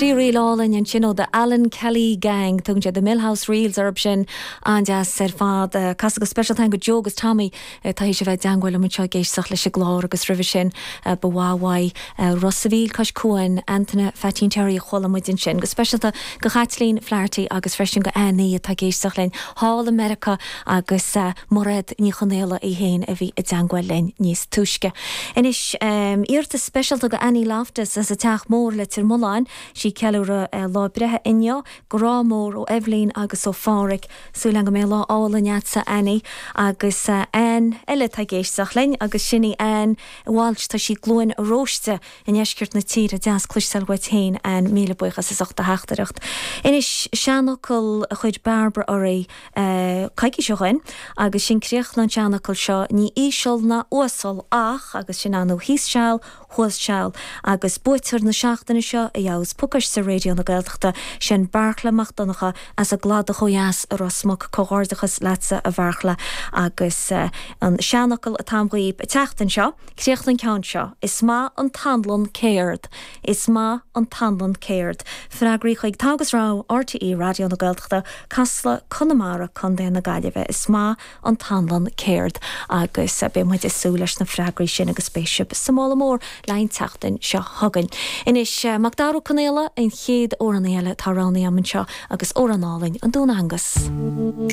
Trí ríl álainn ansin ó The Alan Kelly Gang. Tugann siad The Millhouse Reels orthu sin. An-deas ar fad. Casadh go speisialta go Joe agus Tommy atá théis a bheith i dteangmháil liom anseo ag éisteacht leis an gclár agus roimhe sin ba mhaith uaidh Ros a' Mhíl cois Cuain, Antaine Pheaitín Terry a chuala muid ansin. Go speisialta go Chaitlín Flaherty agus freisin go Annie atá ag éisteacht linn thall i Meiriceá agus Mairéad Ní Chonaola í féin a bhí i dteangmháil linn níos túisce. Anois, iarratas speisialta go Annie Loftus as an Teach Mór, Leitir Mealláin. Sí ag ceiliúradh a lá breithe inniu. Grá mór ó Eibhlín agus ó Phádhraic. Súil agam go mbeidh lá álainn agatsa Annie. Agus Ann eile atá ag éisteacht linn agus sin í Ann Walsh. Tá sí i gCluain Róiste i ndeisceart na tíre. Deas cloisteáil uait féin Ann. Míle buíochas as ucht do theachtaireacht. Anois, seanfhocal a chuir Bairbre oraibh coicís ó shoin agus sin críoch an tseanfhocail seo, ní íseal ná uasal ach, agus sin ar ndóigh thíos seal, thuas seal. Agus buaiteoir na seachtaine seo a gheobhas pacáiste Raidió na Gaeltachta, sin Beartla Mac Donncha as an gCladach ó dheas i Ros Muc. Comhghairdeachas leatsa a Bheartla. Agus an seanfhocal atá agam dhaoib an tseachtain seo, críoch an ceann seo, Is maith an t-anlann céard. Is maith an t-anlann céard. Freagraí chuig Togha agus Rogha, RTÉ Raidió na Gaeltachta, Casla, Conamara, Co. na Gaillimhe. Is maith an t-anlann céard. Agus beidh muid ag súil leis na freagraí sin agus beidh sibh sa mála mór le haghaidh an tseachtain seo chugainn. Anois, Macdara Ó Conaola, an chéad amhránaí eile atá roghnaithe agam anseo agus amhrán álainn, An Dún Angus.